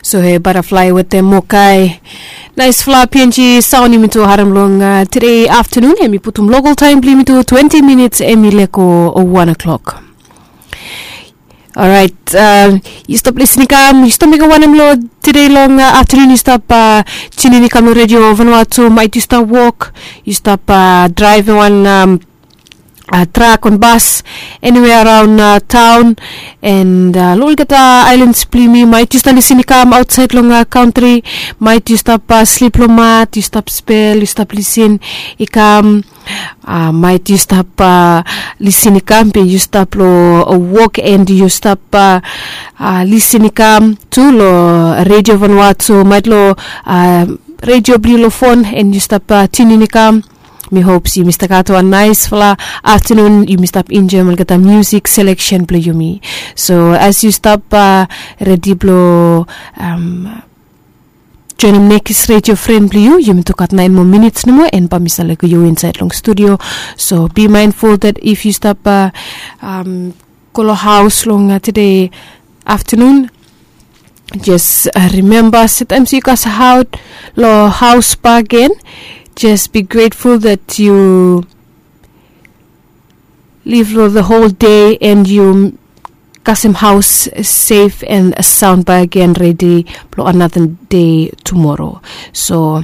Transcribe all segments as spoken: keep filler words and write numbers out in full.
So he bataflai wetem mokai. Naispela png saon yumi tu harem long tede aftanun, em i putum lokal taem blong yumi tu twenti minits em i leko wan o'clock. Orait, yu stap lisin i kam, yu stap mekem wanem long tede long aftanun? Yu stap tunin i kam long redio vanua tu, maet yu stap wok, yu stap draevem wan trak o bas, eniwea araon taon, and long olgeta aelans blong yumi, maet yu stap lisin i kam aotsaed long kantri, maet yu stap slip long mat, yu stap spel, yu stap lisin i kam, maet yu stap lisin i kam be yu stap long wok and yu stap lisin i kam tu long redio vanua tu, maet long redio blong yu long fon and yu stap tunin i kam. Mi hop se yumi stap gat wan naesfala aftanun, yumi stap enjoem olgeta musik seleksen blong yumi. So as yu stap redi blong joenem nekis redio fren blong yu, yumi tu gat naen moa minits nomo and bae mi stap lego yu insaed long studio. So be mindful that if yu stap go long haos long tede aftanun, jes rimemba se taem se yu kasaot long haos bakegen, jes be grateful that yu liv long the whole day and yu kasem haos sef and saon bakegen, redi blong another day tumoro. So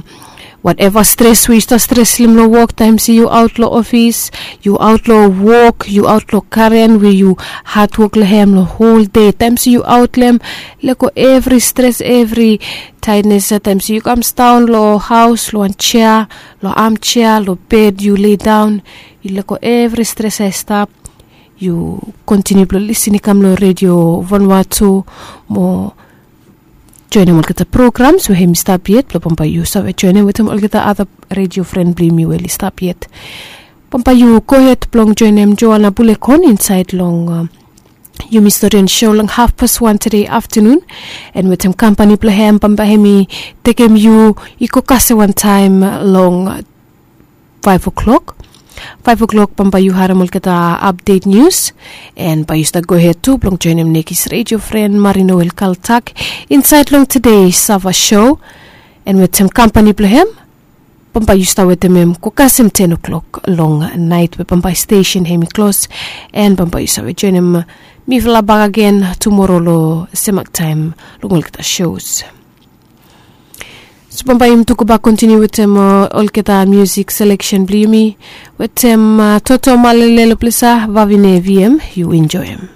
wateva stres we yu stap stresem long wok, taem se yu aot long ofis, yu aot long wok, yu aot long garen we yu hadwok long hem long hol dei, taem se yu aot long hem, lego evri stres, evri taednes. Taem se yu kam sidaon long haos long wan jea, long amjea, long bed, yu leidaon, yu lego evri stres ya i stap, yu kontiniu blong lisin i kam long redio vanua tu mo joenem olgeta programs we hem i stap yet, blong bambae yu save joenem wetem olgeta ada redio fren blong yumi we oli stap yet. Bambae yu gohed blong joenem Joana Bulekon insaed long yumi stori and show long hafpas wan tede aftanun, and wetem kampani blong hem bambae hem i tekem yu i go kasem wantaem long faef o'clock. Faef o'clock bambae yu harem olgeta apdet nius, and bae yu stap gohed tu blong joenem nekis redio fren Marino El Kaltak insaed long tede Sava show, and wetem kampani blong hem bambae yu stap wetem hem go kasem ten o'clock long naet we bambae stesen hem i klos, and bambae yu save joenem mifala bakegen tumoro long semak taem long olgeta shows. So bambae yumi tu go bak kontiniu wetem olgeta musik seleksen blong yumi wetem Toto Malele long ples ya, Vavine Viem, yu enjoem.